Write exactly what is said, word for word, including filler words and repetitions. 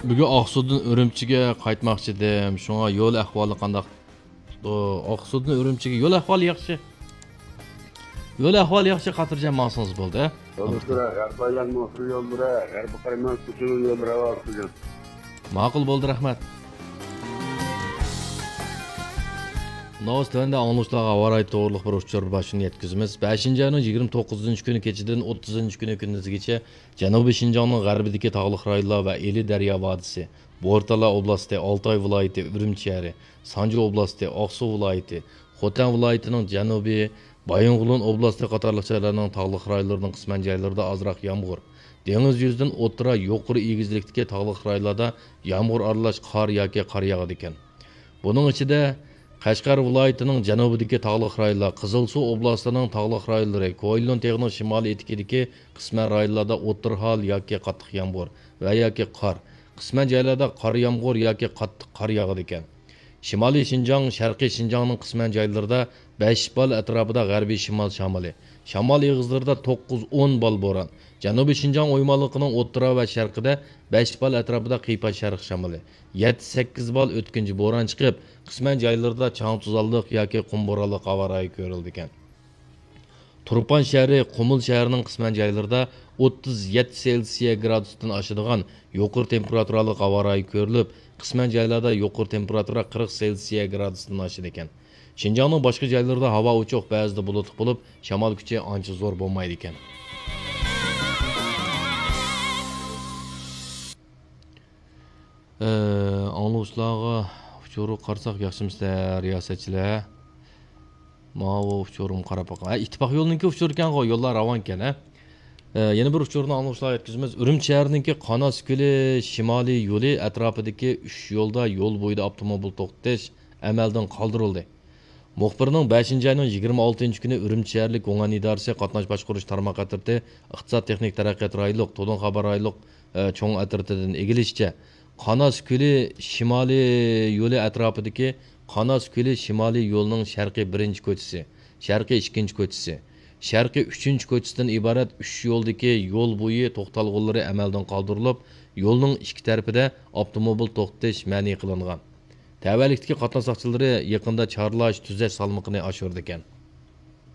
بۈگۈن ئاقسۇدىن ئۈرۈمچىگە قايتماقچىدىم، شۇڭا يول ئەھۋالى قانداق؟ ئاقسۇدىن ئۈرۈمچىگە يول ئەھۋالى ياخشى. يول ئەھۋالى ياخشى، خاتىرجەم ماڭسىڭىز بولدى. يولدىشلار، غەربىي ئايلانما ئۇسسۇل يوللىرى، غەربىي قايماق كوچىنىڭ يوللىرى ھاۋا ئاقسىدىن. ماقۇل، بولدى، رەھمەت. ناۋاس تۆۋەندە ئاڭلىغۇچىلارغا ھاۋا رايى توغرۇلۇق بىر ئۇچۇر باشلىنىپ يەتكۈزىمىز. بەشىنچى ئاينىڭ يىگىرمە توققۇزىنچى كۈنى كېچىدىن ئوتتۇزىنچى كۈنى كۈندۈزگىچە جەنۇبىي شىنجاڭنىڭ غەربىدىكى تاغلىق رايونلار ۋە ئىلى دەريا ۋادىسى، بورتالا ئوبلاستى، ئالتاي ۋىلايىتى، ئۈرۈمچى شەھىرى، سانجى ئوبلاستى، ئاقسۇ ۋىلايىتى، خوتەن ۋىلايىتىنىڭ جەنۇبى، بايىنغولىن ئوبلاستى قاتارلىق جايلارنىڭ تاغلىق رايونلىرىنىڭ قىسمەن جايلىرىدا ئازراق يامغۇر، دېڭىز يۈزىدىن ئوتتۇرا، يۇقىرى ئېگىزلىكتىكى تاغلىق رايونلاردا يامغۇر ئارىلاش قار ياكى قار ياغىدىكەن. بۇنىڭ ئىچىدە، قەشقەر ۋىلايىتىنىڭ جەنۇبىدىكى تاغلىق رايونلار، قىزىلسۇ ئوبلاستىنىڭ تاغلىق رايونلىرى، كوئايلۇن تېغىنىڭ شىمالىي ئېتىكىدىكى قىسمەن رايونلاردا ئوتتۇرا ھال ياكى قاتتىق يامغۇر ۋە ياكى قار، قىسمەن جايلاردا قارا يامغۇر ياكى قاتتىق قار ياغىدىكەن. شىمالىي شىنجاڭ، شەرقىي شىنجاڭنىڭ قىسمەن جايلىرىدا بەش بال ئەتراپىدا غەربىي شىمال شامىلى، شامال ئېغىزلىرىدا توققۇز ئون بال بوران، جەنۇبىي شىنجاڭ ئويمانلىقىنىڭ ئوتتۇرا ۋە شەرقىدە بەش بال ئەتراپىدا قىيپاش شەرق شامىلى، يەتتە سەككىز بال ئۆتكۈنچى بوران چىقىپ، قىسمەن جايلىرىدا چاڭ توزانلىق ياكى قۇم بورانلىق ھاۋا رايى كۆرۈلىدىكەن. تۇرپان شەھىرى، قۇمۇل شەھىرىنىڭ قىسمەن جايلىرىدا ئوتتۇز يەتتە سېلسىيە گرادۇستىن ئاشىدىغان يۇقىرى تېمپېراتۇرالىق ھاۋا رايى كۆرۈلۈپ، قىسمەن جايلاردا يۇقىرى تېمپېراتۇرا قىرىق سېلسىيە گرادۇستىن ئاشىدىكەن. شىنجاڭنىڭ باشقا جايلىرىدا ھاۋا ئوچۇق، بەزىدە بۇلۇتلۇق بولۇپ، شامال كۈچى ئانچە زور بولمايدىكەن. ئاڭلىغۇچىلارغا ئۇچۇرغا قارىساق ياخشىمۇسىلەر، رىياسەتچىلەر؟ ماۋۇ ئۇچۇرۇم قاراپ باقاي. ھە، ئىتتىپاق يولىنىڭكى ئۇچۇرى ئىكەنغۇ، يوللار راۋانكەن، ھە؟ ئە، يەنە بىر ئۇچۇرنى ئاڭلىغۇچىلارغا يەتكۈزىمىز. ئۈرۈمچى شەھىرىنىڭكى قاناس كۆلى شىمالىي يولى ئەتراپىدىكى ئۈچ يولدا يول بويىدا ئاپتوموبىل توختىتىش ئەمەلدىن قالدۇرۇلدى. مۇخبىرنىڭ بەشىنچى ئاينىڭ يىگىرمە ئالتىنچى كۈنى ئۈرۈمچى شەھەرلىك گۇڭئەن ئىدارىسى قاتناش باشقۇرۇش تارماق ئەترىتى ئىقتىساد تېخنىك تەرەققىيات رايونلۇق، تولۇن خەۋەر رايونلۇق، ئە، چوڭ ئەترىتىدىن ئىگىلىشىچە، قاناس كۆلى شىمالىي يولى ئەتراپىدىكى قاناس كۆلى شىمالىي يولىنىڭ شەرقىي بىرىنچى كوچىسى، شەرقىي ئىككىنچى كوچىسى، شەرقىي ئۈچىنچى كوچىسىدىن ئىبارەت ئۈچ يولدىكى يول بويى توختالغۇلىرى ئەمەلدىن قالدۇرۇلۇپ، يولنىڭ ئىككى تەرىپىدە ئاپتوموبىل توختىتىش مەنئى قىلىنغان. تەۋەلىكتىكى قاتناش ساقچىلىرى يېقىندا چارلاش، تۈزەش سالمىقىنى ئاشۇرىدىكەن.